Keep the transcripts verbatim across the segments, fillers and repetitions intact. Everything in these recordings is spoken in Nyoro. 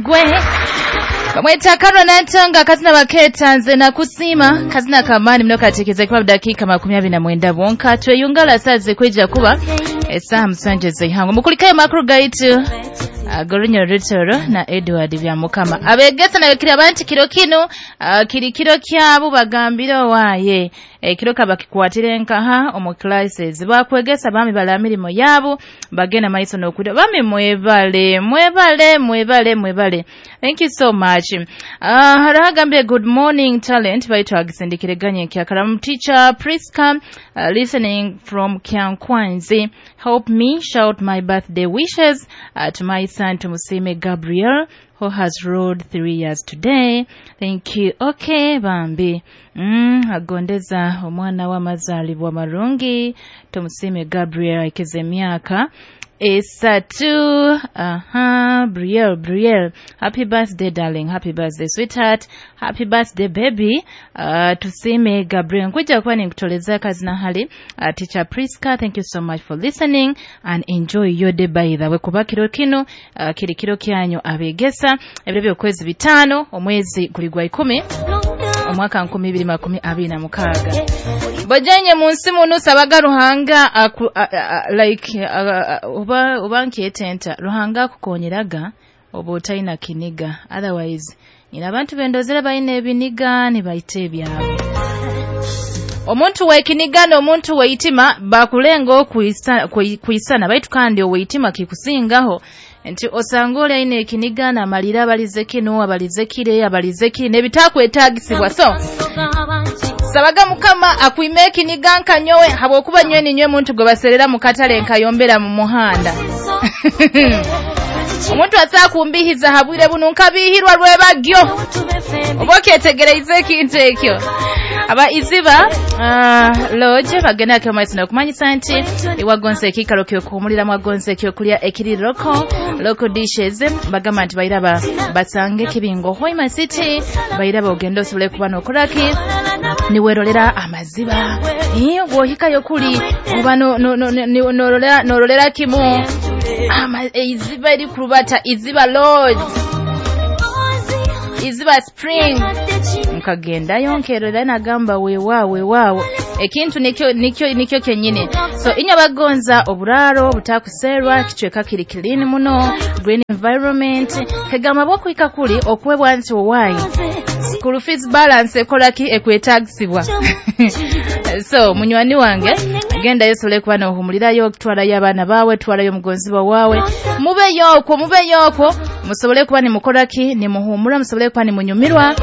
Gwe bamweta Karwa Nantonga, akazina baketa "Nze Nakusiima", kazina kamaani muno, kateekeza kuba dakiika makumi abiri na mwenda bwonka tweyungala saze kwija kuba esaaha musanju ez'eihangwe. Mukulikayo makuru gaitu ag'orunyoro rutoro na Edward Byamukama. Abegesa nabekiri abantu kiro kinu uh, kiri kiro kyabo, bagambire owaaye ekiro kabakikwatire nkaha omu classes bakwegesa. Bami bala mirimo yabo, bagenda maiso n'okuda. Bami mwebale, mwebale, mwebale, mwebale, thank you so much. uh, hariho agambye, "Good morning, Talent." Baitu agisindikire nkyakaramu. "Teacher Priska, uh, listening from Kyankwanzi. Help me shout my birthday wishes uh, to my son Tumusime Gabriel, who has rolled three years today. Thank you." Okay, bambi. Mm, agondeza omwana w'amazaalibwa marungi Tumusime Gabriel aikize emyaka esatu. Aha, Briel, Briel, happy birthday darling, happy birthday sweetheart, happy birthday baby. uh, tusime Gabriel, nkwija kuba ninkutoleza kazina hali. uh, teacher Priska, thank you so much for listening and enjoy your day. By the way, kuba kiro kino uh, kiri kiro kyanyu abegesa, ebiro by'okwezi bitaano, omwezi guli gwa ikumi, omwaka nkumi ibiri makumi abiri na mukaaga. Bojenye mu nsi muno, sabaga Ruhanga aku, a, a, like a, a, oba oba nkyetenta Ruhanga akukonyeraga oba otalina kiniga. Otherwise nyina abantu bendozera balina ebiniga nibayita ebyabwe. Omuntu wekiniga n'omuntu weitima bakulenga okuisa- kui- kuisana, baitu kandi oweitima kikusingaho nti osanga oli alina ekiniga namalira abalize kino, abalize kire, abalize kiri nebitakwetagisibwa. So sabaga Mukama akwime ekiniga nkanyowe, habwokuba nywe ninywe muntu gwe baserera mu katale nkayombera mu muhanda. Omuntu asakumbihiza habwire buno nkabihirwa lwebagyo, oba okyetegereize ekintu ekyo. Aba Iziba uh, Lodge bagenda maiso nokumanyisa nti iwagonza ekiikaro kyokuhumuliramu, agonza ekyokulya ekiri local, local dishes. Bagamba nti bairaba basange Kibingo, Hoima City. Bairaba ogenda osobole kuba nokoraki, niwerolera amaziba. Eh, bw'ohikayo kuli oba no- no- no- no- norolera norolera kimu Ama- eiziba erikurubata, Iziba Lodge, Iziba Spring. Nkagendayo nkerera, nagamba weewaawo, weewaawo, ekintu nikyo nikyo nikyo kyenyini. So inywe abagonza oburaaro butakuseerwa, kicweka kiri clean muno, green environment, kegamba bwokuhika kuli okwebwa nti owaayi school fees balance ekolaki, ekwetagisibwa. So munywani wange, gendayo osobole kuba nohumulirayo, twalayo abaana baawe, twalayo omugonzibwa waawe, mubeyo okwo, mubeyo okwo, musobole kuba nimukolaki, nimuhumura, musobole kuba nimunyumirwa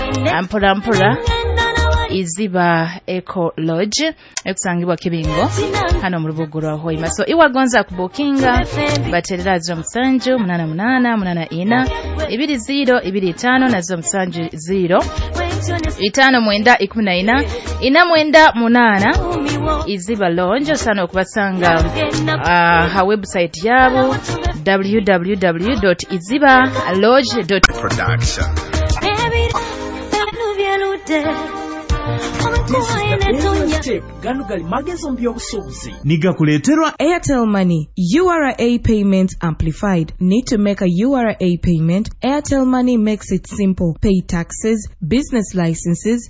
mpora mpora. Iziba Eco Lodge ekusangibwa Kibingo hano mu rubuga rwa Hoima. So iwagonza kubukinga, baterera ziro musanju munana munana munana ina ibiri ziro ibiri itano na ziro musanju ziro itano mwenda ikumi na ina ina mwenda munana. Iziba Lodge osana okubasanga uh, ha website yabo w w w iziba lodge. Production. This is the Bonus Tape. Gano gali magezo mu by'obusuubuzi. Nigakuleeterwa Airtel Money, U R A Payment Amplified. Need to make a U R A payment? Airtel Money makes it simple. Pay taxes, business licenses,